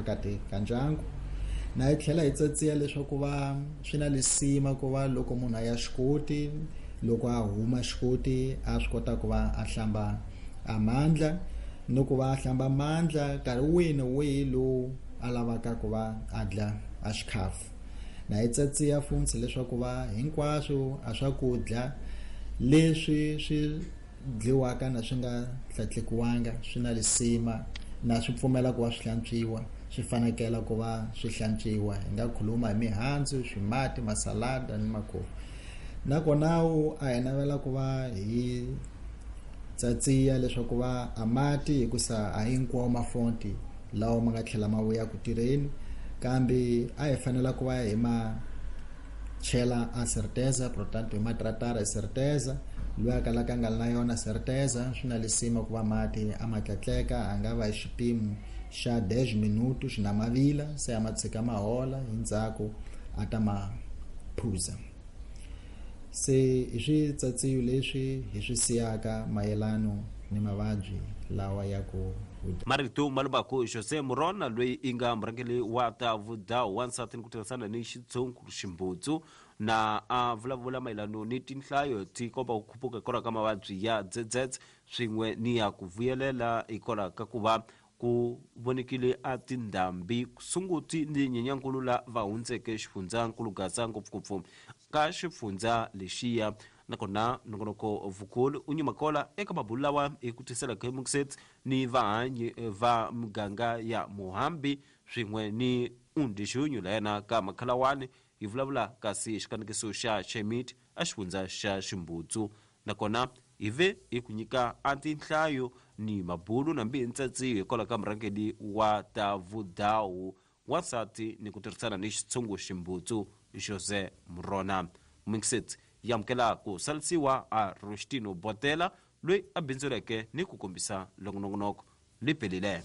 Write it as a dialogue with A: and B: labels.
A: phakati ka ndyangu. Na hi tlhela hi tsatsiya leswaku va swi na lisima ku va loko munhu a ya xikoti, loko a huma xikoti a swi kota ku va a hlamba a mandla, ni ku va a hlamba mandla nkarhi wihi ni wihi lowu a lavaka ku va a dla a xikhafu. Na hi tsatsiya funtshi leswaku va hinkwaswo a swakudya leswi swi dliwaka na swi nga hlatlekiwanga swi na lisima na swi pfumela ku va swi hlantswiwa, swi fanekela ku va swi hlantswiwa. Hi nga khuluma hi mihandzu, swimati, masalada ni makhofu. Nakona a hi navela ku va hi tsatsiya leswaku va a mati, hikusa a hinkwawo mafonti lawa ma nga tlhela ma vuya ku tirheni, kambe a hi fanela ku va hi ma chela a certeza, portanto hi ma tratara hi certeza. Loyi a kalaka a nga ri na yona certeza, swi na lisima ku va mati a ma tlatleka, a nga va hi xipimo xa 10 minutos na mavila, se a ma tshika ma hola, hi ndzhaku a ta ma phuza. Se hi switsatsiyo leswi hi swi siyaka mayelano ni mavabyi lawa ya ku
B: Marito malubaku José Murona loyi i nga murhangeri wa ta vudawu wansati ni ku tirhisana ni xitshungu ximbutsu na a vulavula mayelano ni tinhlayo ti komba ku khuphuka hikwalaho ka mavabyi ya dzedzedze swin'we ni ya ku vuyelela hikwalaho ka ku va ku vonekile a tindhambi Sunguti ni Nyenyankulu la va hundzeke xifundzankulu Gaza ngopfungopfu ka xifundza lexiya. Nakona nongonoko vukulu u nyuma kola eka mabulu lawa hi ku tisela Khemukset ni vahanyi va muganga ya Muhambi swin'we ni Undixunyu la yena ka Makhalawani hi vulavula kasi xikanekiso xa Chemit a xifundza xa Ximbutsu. Nakona hi ve hi ku nyika a tinhlayo ni mabulu nambi hi ntsatsiyo hikwalaho ka murhangeri wa ta vudawu wansati ni ku tirhisana ni xitshungu Ximbutsu José Murona. Mixit yi amukela ku salisiwa a Rostino Botela loyi a bindzuleke ni ku kombisa longonongonoko liphelile.